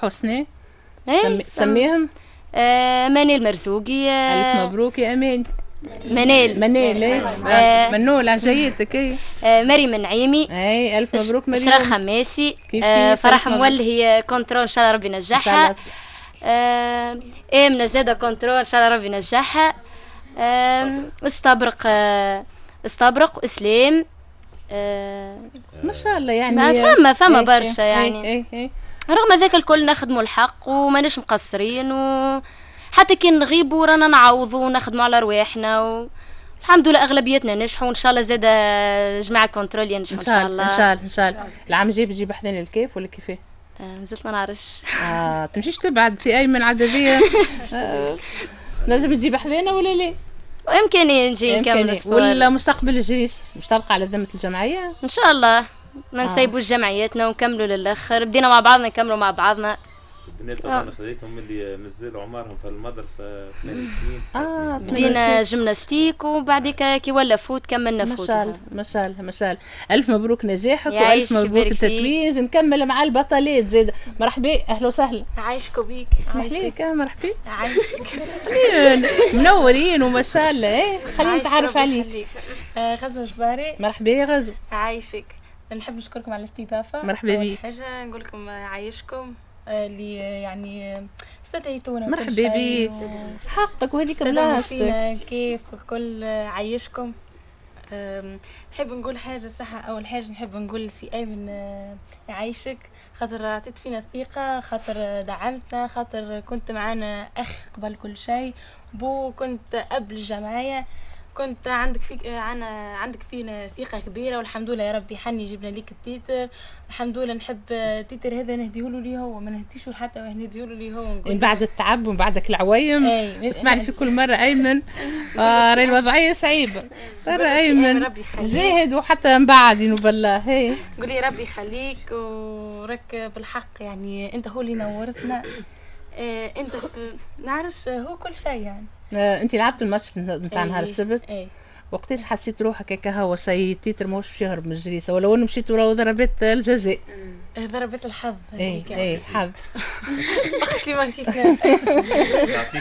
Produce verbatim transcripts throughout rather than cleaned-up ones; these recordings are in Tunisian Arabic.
حسني ايه تسميهم؟ آه منال مرزوقي. آه الف مبروك يا امان. منال منال ايه آه منول على جايتك. ايه آه مريم النعيمي. اي الف مبروك مريم. شراء خماسي. آه فرح مولهي contrôle ان شاء الله ربي ينجحها. آه امنه زاده contrôle ان شاء الله ربي ينجحها. آه استبرق آه استبرق اسلام. آه ما شاء الله يعني ما فما فما برشا يعني. ايه ايه رغم ذاك الكل نخدموا الحق وماناش مقصرين، وحتى كي نغيبوا رانا نعوضوا ونخدموا على رواحنا و... الحمد لله اغلبيتنا نجحوا، وان شاء الله زاد جماعة ال contrôle ينجحوا ان شاء الله. ان شاء الله ان شاء الله. العام الجاي بتجيب حذانا الكيف ولا كيفاه؟ آه مازلت ما نعرفش. اه تمشيش تبعد سي ايمن عددية. آه نجم تجيب حذانا ولا لا؟ وامكانية نجي نكمل sport. ولا مستقبل الجريس مش تبقى على ذمه الجمعية؟ ان شاء الله ما نسيبوش جمعياتنا ونكملوا للاخر، بدينا مع بعضنا نكملوا مع بعضنا. البنات طبعا خذيتهم اللي مازالوا عمرهم في المدرسة ثمان سنين تسع آه سنين. بدينا جيمناستيك وبعديك كي ولا foot كملنا foot. ما شاء الله ما شاء الله ما شاء الله. الف مبروك نجاحك والف مبروك التتويج. نكمل مع البطلات زاد. مرحبا اهلا وسهلا. عايشك وبيك. عايشك. مرحبا. عايشك. منورين وما شاء الله. ايه خلينا نتعرف عليك. غزو جباري. مرحبا يا غزو. عايشك. نحب نشكركم على الاستضافة. مرحبا بيك. حاجة نقول لكم عايشكم اللي يعني استدعيتونا. مرحبا بيك. و... حقك وهذيك بلاصتك. كيف الكل عايشكم. نحب نقول حاجة صح. اول حاجة نحب نقول سي ايمن يعيشك، خاطر عطيت فينا الثقة، خاطر دعمتنا، خاطر كنت معانا اخ قبل كل شيء، بو كنت اب للجمعية، كنت عندك فيك عنا عندك فينا ثقة كبيرة، والحمد لله يا ربي حني جبنا ليك ال titre. الحمد لله. نحب ال titre هذا نهديه لي هو، ما نهديش حتى نهديه لي هو. من بعد التعب ومن بعدك العويم. اسمعني في كل مرة ايمن آه راهي الوضعية صعيبة. ترى ايمن جاهد وحتى من بعد بالله. هي قولي ربي يخليك وراك بالحق، يعني انت هو اللي نورتنا. إيه انت نعرفش هو كل شيء يعني. آه، انت لعبت الماتش نتاع نهار السبت. ايه وقتاش حسيت روحك هكا هو سي titre ماهوش باش يهرب من الجريسه، ولو انه مشيت ورا ضربات الجزاء؟ ضربات الحظ. ايه ايه الحظ. اختي ماركيتنا.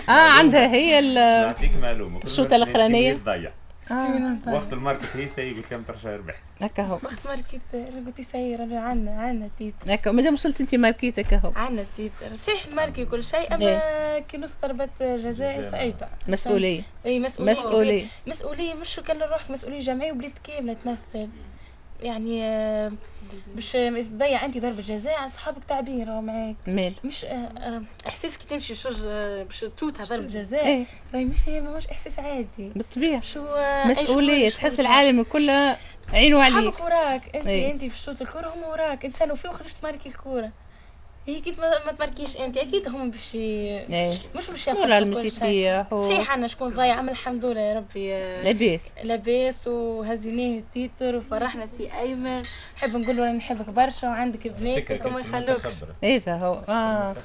اه عندها هي نعطيك معلومة. الشوطه الاخرانية تضيع. آه. وقت الماركت هي سي قلت لهم ترجع ربح هكا هو. وقت ماركت قلت سي رانا عندنا عندنا titre هكا، مادام وصلت انت ماركيت هكا هو عندنا titre. صحيح marqué كل شيء، اما إيه. كي نص ضربات جزاء صعيبة. مسؤولية. اي مسؤولية. مسؤولية مسؤولية مش كان روحك، مسؤولية جمعية وبلاد كاملة تمثل يعني. باش تضيع انت ضربه جزاء اصحابك تعبين راهو معاك. مال مش احساس كي تمشي شوج باش توتها ضربه جزاء. ايه؟ راهي مش ماهوش احساس عادي. بالطبيعة شو مسؤولية، تحس العالم الكل عينه عليك. اصحابك وراك انت. ايه؟ انت باش توت الكره هم وراك، انسان فيه وخدش تماركي الكره. هي كي ما تماركيش انت اكيد هم باش ايه. مش باش يفرحوا. مشيت فيه صحيح عندنا شكون ضايع، اما الحمد لله يا ربي لاباس لاباس وهزيناه ال titre وفرحنا سي ايمن. نحب نقول له نحبك برشا وعندك بناتك وما يخلوكش. ايه فهو اه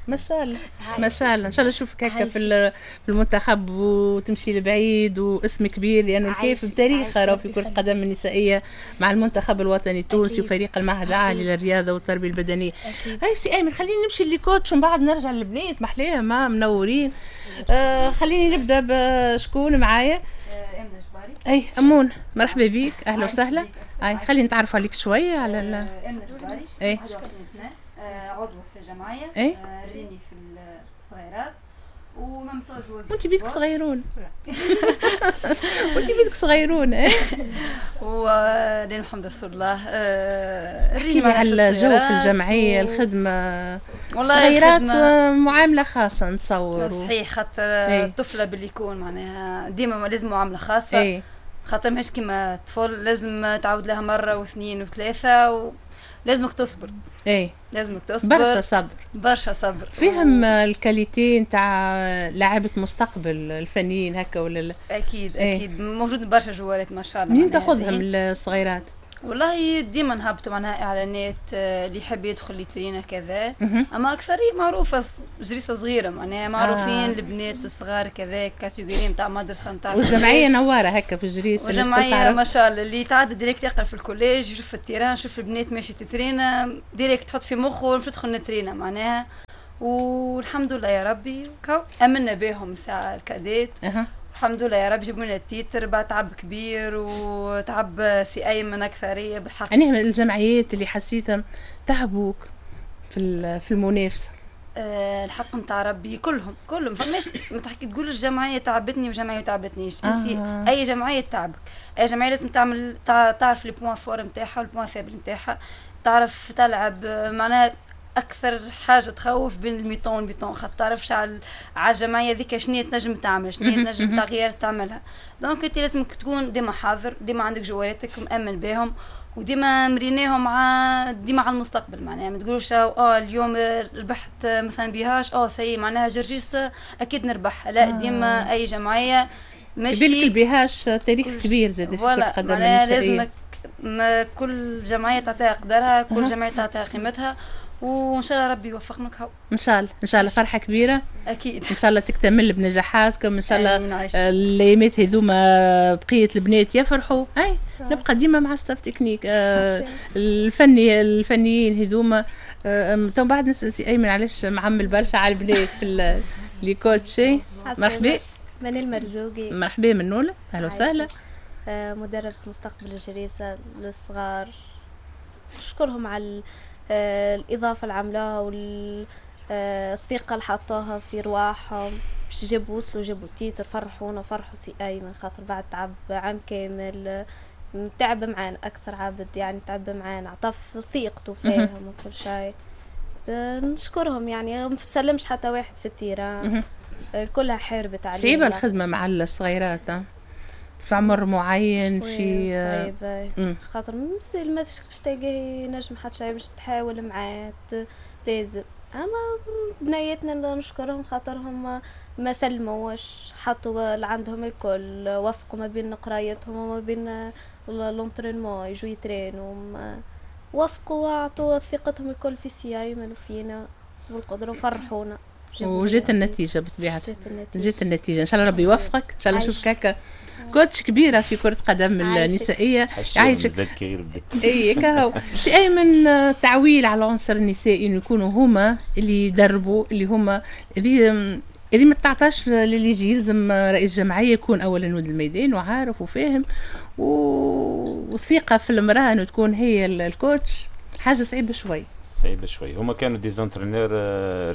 ما شاء الله ما شاء الله. ان شاء الله نشوفك هكا في في المنتخب وتمشي لبعيد واسم كبير، لانه الكيف بتاريخها راهو في كره القدم النسائية مع المنتخب الوطني التونسي وفريق المعهد العالي للرياضة والتربية البدنية. هاي سي ايمن خليني نمشي ل coach ومن بعد نرجع للبنات محليها ما منورين. آه خليني نبدا بشكون معايا؟ امنه جباري. اي امون مرحبا بك اهلا وسهلا. اي خلينا نتعرفوا عليك شوية على امنه جباري. اي واحد وعشرين سنة، عضو في الجمعية. إيه؟ ريني في الصغيرات وممتاز. وانت بيدك صغيرون. وانت بيدك صغيرون. ايه ولين محمد رسول الله. احكي لي على الجو في الجمعية و... الخدمة. الصغيرات معاملة خاصة نتصور. صحيح، خاطر إيه؟ الطفلة باللي يكون معناها ديما لازم معاملة خاصة. إيه؟ خاطر ماهيش كيما الطفل، لازم تعود لها مرة واثنين وثلاثة و... لازمك تصبر. ايه لازمك تصبر، برشا صبر برشا صبر. فيهم ال qualité نتاع لاعبة مستقبل الفنيين هكا ولا لا؟ اكيد. ايه؟ اكيد موجود برشا جوارات ما شاء الله. منين تاخذهم الصغيرات؟ والله ديما نهبطوا معناها اعلانات اللي يحب يدخل يترينا كذا، اما اكثرية معروفة جريسه صغيرة معناها معروفين آه. البنات الصغار كذا catégorie نتاع مدرسه نتاع والجمعية نواره هكا في الجريس. والجمعية ما شاء الله اللي يتعدى direct يقرا في ال collège يشوف ال terrain، يشوف البنات ماشي تترينا direct تحط في مخه باش تدخل نترينا معناها. والحمد لله يا ربي امنا بهم ساعة ال cadettes. أه. الحمد لله يا رب جابوا لنا ال titre بعد تعب كبير وتعب سي ايمن اكثرية بالحق. يعني من الجمعيات اللي حسيتها تعبوك في في المنافسة؟ أه الحق نتاع ربي كلهم كلهم فماش ما تحكي تقول الجمعية تعبتني وجمعية ما تعبتنيش. آه. انت اي جمعية تعبك، اي جمعية لازم تعمل تعرف les points forts نتاعها وال points faibles نتاعها، تعرف تلعب معناها. اكثر حاجة تخوف بين ال mi-temps وال mi-temps، خاطر تعرفش على على الجمعية ذيك شنو تنجم تعمل، شنو تنجم تغيير تعملها. donc انت لازمك تكون ديما حاضر، ديما عندك جواراتك مأمن بهم، وديما مريناهم مع ديما على المستقبل معناها. ما تقولوش اه اليوم ربحت مثلا بيهاش اه ça y est معناها جرجيس اكيد نربح، لا. ديما اي جمعية ماشي بالك البيهاش تاريخ كبير زاد في كرة القدم النسائية. لازمك ما كل جمعية تعطيها قدرها، كل أه. جمعية تعطيها قيمتها، وان شاء الله ربي يوفقنا. ان شاء الله ان شاء الله فرحه كبيرة اكيد، ان شاء الله تكتمل بنجاحاتكم ان شاء الله. الايامات هذوما بقية البنات يفرحوا. اي نبقى ديما مع staff technique آه الفني الفنيين هذوما. آه تو بعد نسال سي ايمن علاش معمل برشا على البنات في les coachs. مرحبا منال مرزوقي. مرحبا منوله، اهلا وسهلا. آه مدربة مستقبل الجريسة للصغار، نشكرهم على الإضافة اللي عملوها والثقة اللي حطوها في رواحهم باش جابوا وصلوا جابوا titre، فرحونا فرحوا سي أيمن خاطر بعد تعب عام كامل تعب معانا أكثر عبد يعني تعب معانا، عطف ثقته فيهم وكل شيء. نشكرهم يعني ما سلمش حتى واحد في ال terrain، كلها حاربت عليه. صعيبة الخدمة مع الصغيرات في عمر معين، في صعيبة خاطر ما باش تلقاه ينجم حتى شيء باش تحاول معاه لازم. اما بنياتنا نشكرهم خاطرهم ما سلموش، حطوا اللي عندهم الكل، وفقوا ما بين قرايتهم وما بين l'entraînement، يجوا يترينوا، وافقوا وعطوا ثقتهم الكل في سي ايمن وفينا والقدرة وفرحونا. وجات النتيجة بطبيعة، جات النتيجة. ان شاء الله ربي يوفقك، ان شاء الله نشوفك هكا coach كبيرة في كره قدم النسائية. يعيشك. اي كهو سي ايمن، تعويل على العنصر النسائي انه يكونوا هما اللي يدربوا، اللي هما اللي اللي ما تعطاش للي يجي. يلزم رئيس جمعية يكون اولا ولد الميدان وعارف وفاهم وثقه في المراة انه تكون هي ال coach. حاجة صعيبة شوي، صعيبة شوي. هما كانوا des entraîneurs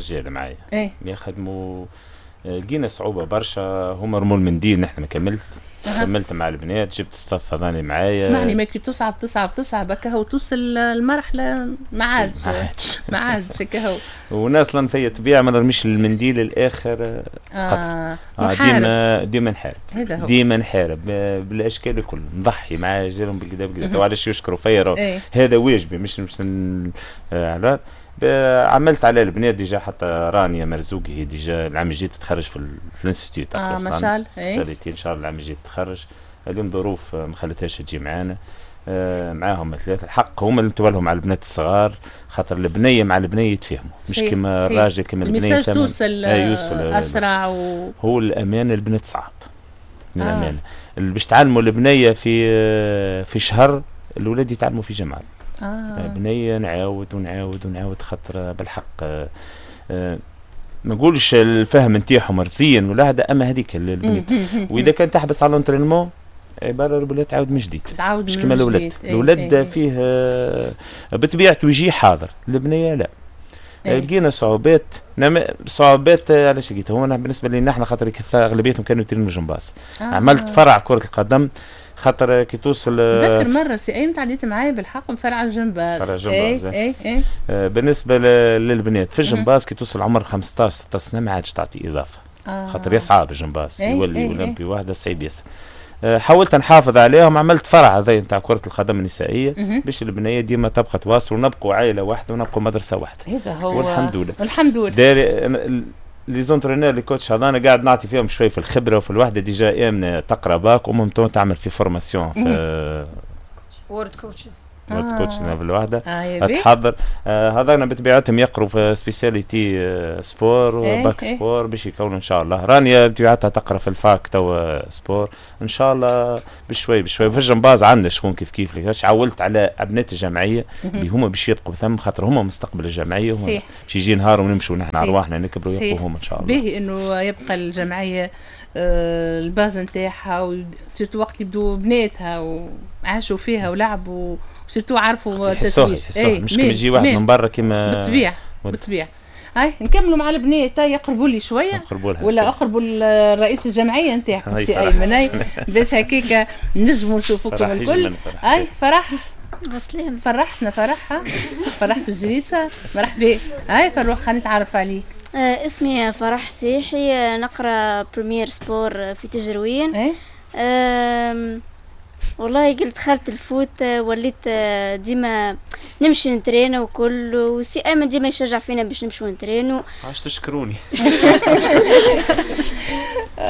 رجال معايا ايه؟ يخدموا، لقينا صعوبة برشا. هما رموا المنديل، نحن ما كملت أه. كملت مع البنات، جبت staff هذاني معايا. اسمعني، ما كي تصعب تصعب تصعب هكا هو توصل المرحلة ما عادش ما عادش هكا هو. وانا اصلا فيا طبيعة ما نرميش المنديل الاخر. آه. آه. ديما ديما نحارب، ديما نحارب بالاشكال الكل، نضحي مع رجالهم بالكدا بالكدا. وعلاش يشكروا فيا؟ ايه؟ هذا واجبي، مش مش على عملت على البنات déjà. حتى رانيا مرزوقي هي déjà العام الجاي تتخرج في ال institut تاع اه ما شاء الله spécialité ان شاء الله العام الجاي تتخرج. اليوم ظروف ما خلتهاش تجي معانا. آه معاهم ثلاثة الحق هما اللي نتوالهم على البنات الصغار، خاطر البنية مع البنية يتفاهموا، مش كيما الراجل كيما البنية. ال message توصل آه اسرع و... هو الامانة البنات صعب الامانة آه. باش تعلموا البنية في في شهر، الاولاد يتعلموا في جمعه. آه. بنية نعاود ونعاود ونعاود خاطر بالحق آه آه ما نقولش الفهم نتاعهم رزين ولا هذا، اما هذيك البنيت. واذا كان تحبس على l'entraînement عبارة الولاد تعاود من جديد، تعاود مش كيما الاولاد. الاولاد فيه آه بطبيعته يجي حاضر، البنية لا. لقينا صعوبات، صعوبات علاش لقيتها؟ هو بالنسبة لنا احنا خاطر اغلبيتهم كانوا يترينوا جمباز. آه. عملت فرع كره القدم خاطر كي توصل. نذكر مرة سي ايمن تعديت معايا بالحق فرع الجمباز. فرع الجمباز اي اي اي. آه بالنسبة للبنات في الجمباز كي توصل عمر خمسطاش ستطاش سنة ما عادش تعطي اضافه. آه. خاطر يصعب الجمباز، ايه يولي ايه اولمبي واحدة صعيب ياسر. آه حاولت نحافظ عليهم، عملت فرع هذا نتاع كره القدم النسائية باش البنية ديما تبقى تواصل، ونبقوا عائلة واحدة ونبقوا مدرسه واحدة. هذا هو، والحمد لله والحمد لله. les entraîneurs les coachs هذانا قاعد نعطي فيهم شوي في الخبرة وفي الوحدة. déjà امنه تقرا bac و même temps تعمل في formation في world coaches. world coach level واحدة تحضر. آه هذانا بطبيعتهم يقروا في spécialité sport و bac sport باش يكونوا ان شاء الله. رانيا بطبيعتها تقرا في ال fac توا sport ان شاء الله بشوي بشوي. في الجمباز عندنا شكون كيف كيف ليش عولت على ابنات الجمعية اللي هما باش يبقوا ثم، خاطر هما مستقبل الجمعية، هما باش يجي نهار ونمشوا نحن ارواحنا نكبروا يبقوا هما ان شاء الله. باهي انه يبقى الجمعية آه ال base نتاعها، و surtout وقت يبدو بناتها وعاشوا فيها ولعبوا، surtout عرفوا التتويج. ايه مش كيما يجي واحد من برا كيما بالطبيعة بالطبيعة. هاي نكملوا مع البنات، هاي يقربوا لي شوية ولا اقربوا الرئيس الجمعية نتاعكم سي ايمن باش هكاك نجموا نشوفوكم الكل. هاي فرح عسلامة، فرحتنا فرحها فرحت الجريسه، مرحبا. هاي فروح خلينا نتعرف عليك. آه اسمي فرح سيحي، نقرا première sport في تجروين. ايه؟ آه والله قلت دخلت ال foot وليت ديما نمشي نترينو وكل، وسي ايمن ديما يشجع فينا باش نمشيو نترينو. عاش تشكروني.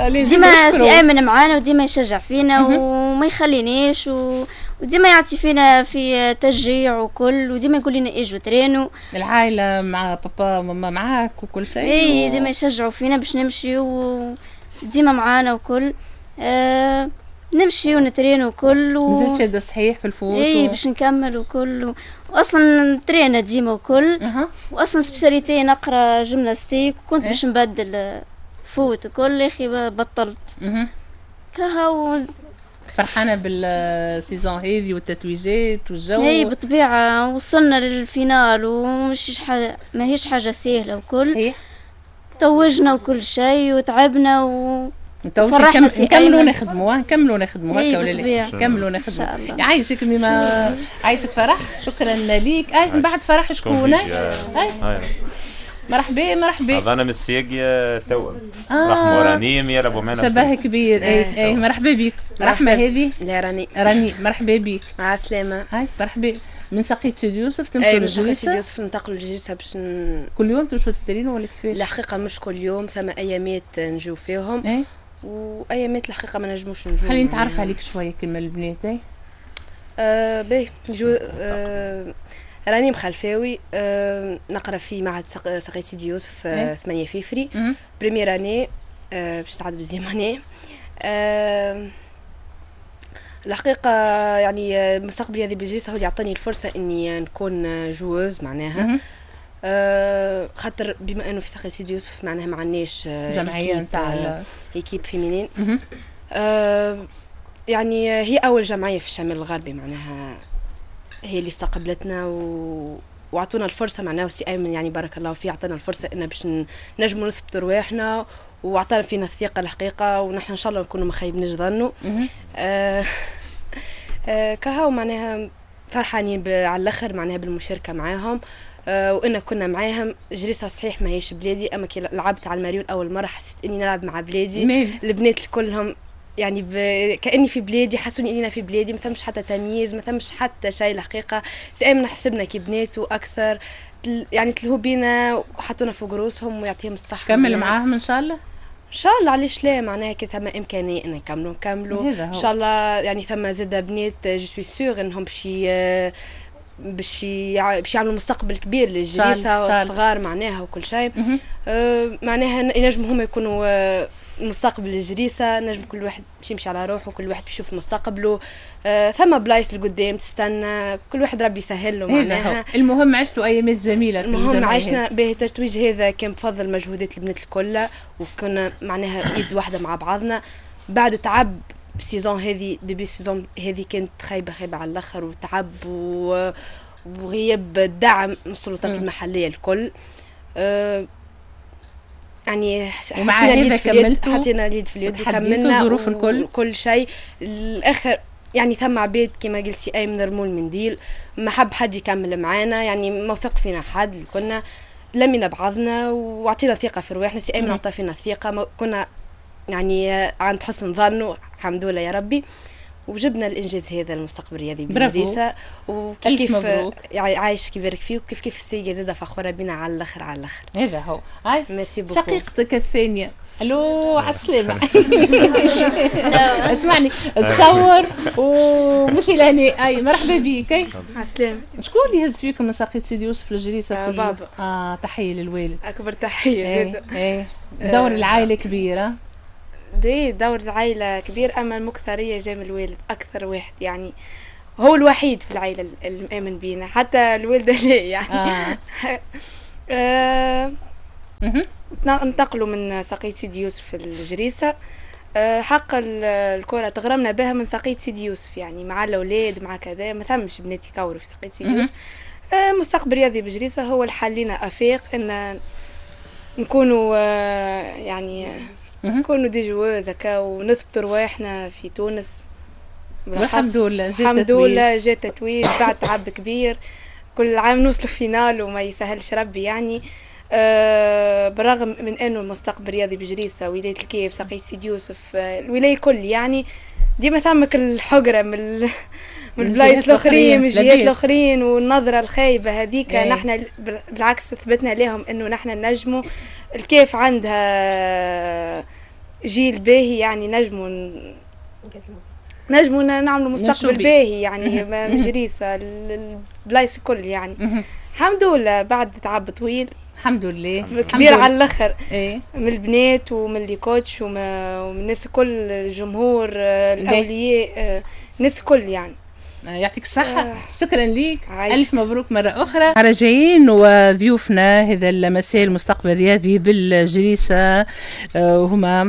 ديما سي ايمن معانا وديما يشجع فينا وما يخلينيش و... وديما يعطي فينا في تشجيع وكل، وديما يقول لنا اجوا ترينو. العائلة مع بابا وماما معاك وكل شيء. اي ديما يشجعوا فينا باش نمشي وديما معانا وكل. آه نمشي ونترين وكل و... مازلت شاده صحيح في ال foot. اي و... باش نكمل وكل و... واصلا ترينا ديما وكل. أه. واصلا spécialité نقرا جيمناستيك وكنت إيه؟ باش نبدل foot وكل، يا اخي بطلت. أه. كهو فرحانة بال saison هذه والتتويجات والجو. اي بالطبيعة وصلنا لل finale ومش حاجة، ماهيش حاجة سهلة وكل. صحيح توجنا وكل شيء وتعبنا و فرحنا. نكملوا نخدموا نكملوا نخدموا هكا ولا لا؟ نكملوا نخدموا. يعيشك ميما، عايشك فرح، شكرا ليك. اي من بعد فرح شكون؟ اي مرحبا مرحبا. هذا انا من السياقية تو رحمة ورانيم يلعبوا معنا شبه كبير. اي اي مرحبا بك. رحمة هذه؟ لا راني. راني مرحبا بك. مع السلامة. هاي مرحبا. من ساقية سيدي يوسف تمشوا للجريسة؟ سيدي يوسف ننتقلوا للجريسة باش ن... كل يوم تمشوا تترينوا ولا كيفاش؟ الحقيقة مش كل يوم، ثم أيامات نجيو فيهم. ايه؟ وايامات الحقيقة ما نجموش نجو. خليني نتعرف عليك شوية كلمة البنات. اي آه باهي نجو. آه راني مخلفاوي، آه نقرا في معهد ساقية سيدي يوسف آه ثمانية فيفري، première année، آه باش تعدل deuxième année. آه الحقيقة يعني المستقبل هذه بالجلسه هو اللي عطاني الفرصة اني نكون joueuse معناها. آه خاطر بما انه في ساقية سيدي يوسف معناها ما عندناش جمعية نتاع équipe féminine. آه يعني هي اول جمعية في الشمال الغربي معناها، هي اللي استقبلتنا و... واعطونا الفرصة معناها. وسي ايمن يعني بارك الله فيه اعطانا الفرصة ان باش نجموا نثبتوا رواحنا، واعطانا فينا الثقة الحقيقة، ونحن ان شاء الله نكونوا ما خيبناش ظنه. آه آه كهو معناها فرحانين على الاخر معناها بالمشاركة معاهم. آه وإن كنا معاهم. جريسة صحيح ماهيش بلادي، أما كي لعبت على الماريون أول مرة حسيت إني نلعب مع بلادي. مين. البنات كلهم يعني ب... كأني في بلادي، حسوني إني أنا في بلادي، ما ثمش حتى تمييز، ما ثمش حتى شيء الحقيقة. سي حسبنا كي بنات وأكثر تل... يعني تلهوا بينا وحطونا فوق رؤوسهم ويعطيهم الصحة. كمل معاهم إن شاء الله. ان شاء الله علاش لا، معناها كي ثم امكانية ان نكملوا نكملوا ان شاء الله. يعني ثم زاد بنات je suis sûre انهم باش باش باش يعملوا مستقبل كبير للجليسه والصغار معناها وكل شيء. آه معناها ينجموا هما يكونوا آه مستقبل الجريسه، نجم كل واحد باش يمشي على روحه، كل واحد باش يشوف مستقبله. آه ثم بلايص لقدام تستنى، كل واحد ربي يسهل له معناها. المهم عشتوا ايامات جميلة. المهم عشنا به التتويج هذا كان بفضل مجهودات البنات الكل، وكنا معناها يد واحدة مع بعضنا. بعد تعب saison هذه، début saison هذه كانت خايبة خايبة على الاخر، وتعب وغياب الدعم من السلطات المحلية الكل. أه يعني ومع هذا كملتوا، حطينا اليد في اليد وكملنا الظروف الكل كل شيء. الاخر يعني ثم عباد كما قال سي ايمن رموا المنديل، ما حب حد يكمل معانا، يعني ما وثق فينا حد، كنا لمينا بعضنا وعطينا ثقة في رواحنا. سي ايمن عطى فينا ثقة، كنا يعني عند حسن ظنه الحمد لله يا ربي. وجبنا الانجاز هذا المستقبل الرياضي بالجريسه. وكيف كيف عايش كيبارك فيه، وكيف كيف السيدة زاده فخورة بينا على الاخر على الاخر. هذا هو. merci beaucoup. شقيقتك الثانية، الو على السلامة. اسمعني تصور ومشي لهنا. اي مرحبا بك. على السلامة. شكون اللي يهز فيكم من ساقية سيدي يوسف للجريسه؟ آه بابا. اه تحية للوالد، اكبر تحية زاده. ايه دور العائلة كبيرة. دي دور العائلة كبير، أما المكثرية جا من الوالد أكثر واحد، يعني هو الوحيد في العائلة اللي مآمن بينا، حتى الوالدة لا يعني. آه. آه. انتقلوا من ساقية سيدي يوسف الجريسة. آه حق الكرة تغرمنا بها من ساقية سيدي يوسف، يعني مع الأولاد مع كذا، ما ثمش بنات يكوروا في ساقية سيدي يوسف. آه مستقبل رياضي بجريسة هو اللي حلينا آفاق إن نكونوا آه يعني نكونوا des joueuses هكا ونثبتوا رواحنا في تونس. الحمد لله جات الحمد لله جات تتويج بعد تعب كبير، كل عام نوصلوا finale وما يسهلش ربي يعني. أه بالرغم من انه المستقبل الرياضي بجريسه، ولاية الكيف، ساقية سيدي يوسف، آه الولاية كل يعني ديما ثمك الحقره من من البلايص الاخرين، من الجهات الاخرين، والنظرة الخايبة هذيك. نحن بالعكس ثبتنا لهم انه نحن نجموا. الكيف عندها جيل باهي، يعني نجموا نجموا نعملوا مستقبل باهي يعني من جريسه البلايص الكل يعني. الحمد لله بعد تعب طويل الحمد لله كبير على الاخر. إيه؟ من البنات ومن les coachs ومن الناس الكل، الجمهور، الاولياء، الناس الكل يعني. يعطيك الصحة. آه. شكرا ليك. عايش. ألف مبروك مرة أخرى. راجعين وضيوفنا هذا المساء المستقبل الرياضي بالجريسة، وهما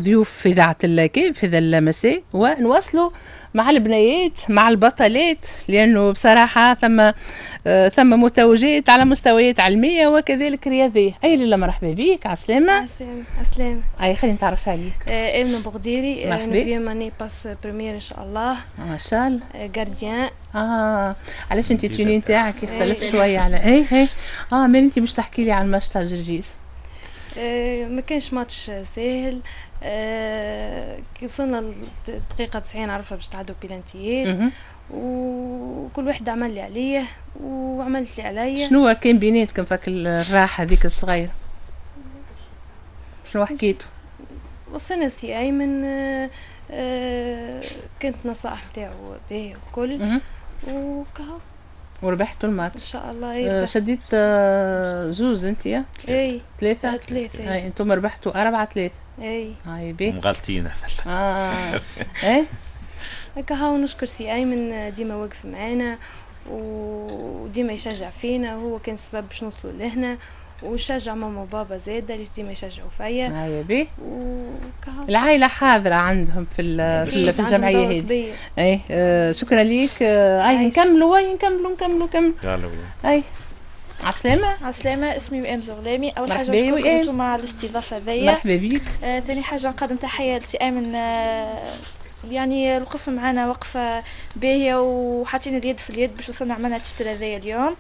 ضيوف في إذاعة الكيف هذا المساء، ونواصلوا مع البنيات مع البطلات، لأنه بصراحة ثم ثم متوجات على مستويات علمية وكذلك رياضية. أي لله مرحبا بك. عسلامة. عسلامة. عسلامة. أي خلينا نتعرف عليك. آمنة بغديري، neuvième année passe première إن شاء الله. ما شاء الله. gardien. اه علاش أنت ال tenue نتاعك يختلف شوية على اي اي اه مال أنت مش تحكي لي على الماتش تاع جرجيس؟ آه ما كانش ماتش ساهل. آه كي وصلنا للدقيقة تسعين عرفنا باش تعدوا بيلانتيات، وكل واحد عمل لي عليه وعملت لي عليا. شنو كان بيناتكم فك الراحة هذيك الصغيرة؟ شنو حكيتوا؟ وصلنا سي أيمن، آه آه كانت نصائح نتاعو باهية وكل وكهو وربحتوا الماتش ان شاء الله. إيه شديت آه زوز انت يا؟ اي ثلاثة ثلاثة. اي انتم ربحتوا أربعة ثلاثة. اي هاي بي مغلطين. اه اي هكا هاو. نشكر سي ايمن ديما واقف معانا وديما يشجع فينا، وهو كان السبب باش نوصلوا لهنا، وشجع ماما وبابا زاده اللي ديما يشجعوا فيا. هاي بي العائلة حاضره عندهم في في, في الجمعية هذه. اي آه شكرا ليك. آه اي نكملوا اي نكملوا نكملوا نكملوا. اي عسلامة. عسلامة. اسمي وئام زغلامي. أول حاجة نشكركم انتم على الاستضافة هذيا. مرحبا بك. آه، ثاني حاجة نقدم تحية لسي أيمن، آه، يعني الوقف معنا وقفة باهية وحاطين اليد في اليد باش وصلنا عملنا ال titre هذايا اليوم.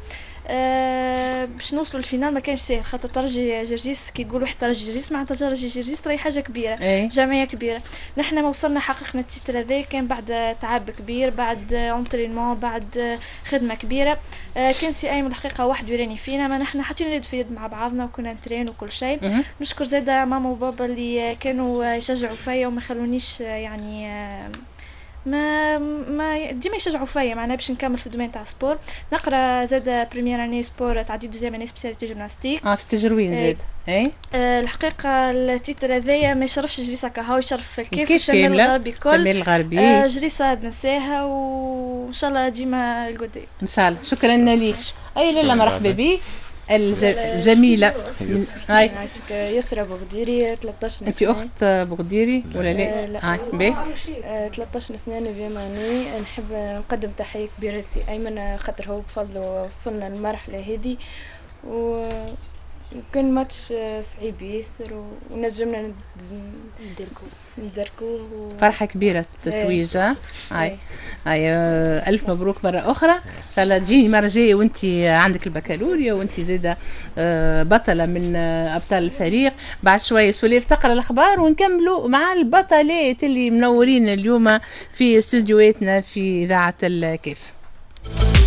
أه باش نوصلوا لل finale ما كانش ساهل، خاطر ترجي جرجيس كي يقولوا واحد ترجي جرجيس معناتها ترجي جرجيس راهي حاجة كبيرة. ايه؟ جمعية كبيرة. نحن ما وصلنا حققنا ال titre هذا كان بعد تعب كبير، بعد entraînement، بعد خدمة كبيرة. أه كان سي ايمن الحقيقة وحده يراني فينا، ما نحن حاطين اليد في يد مع بعضنا وكنا نترين وكل شيء. نشكر زاده ماما وبابا اللي كانوا يشجعوا فيا وما خلونيش يعني ما ما ديما يشجعوا فيا معناها باش نكمل في ال domaine تاع sport. نقرا زاد première année sport، تعديت deuxième année spécialité gymnastique. اه في التجروين زاد. اي آه الحقيقة ال titre هذايا ما يشرفش جريسه كهو، يشرف الكيف الشمال الغربي الكل. الشمال الغربي. آه جريسه بنساها وان شاء الله ديما القدام ان شاء الله. شكرا لك. اي لاله مرحبا بك الجميلة. هاي يسرى بغديري ثلاثة عشر سنة. انت اخت بغديري ولا لا؟ لا. هاي باهي. ثلاثة عشر سنة neuvième année. نحب نقدم تحية كبيرة لسي ايمن خاطر هو بفضله وصلنا للمرحلة هذه، و كان ماتش صعيب ياسر ونجمنا ندركوه ندركوه و... فرحة كبيرة التتويج. هاي هاي ألف مبروك مرة أخرى، إن شاء الله تجيني مرة جاية وأنت عندك البكالوريا وأنت زادة بطلة من أبطال الفريق. بعد شوية سليف تقرأ الأخبار ونكملوا مع البطلات اللي منورين اليوم في استوديوهاتنا في إذاعة الكيف.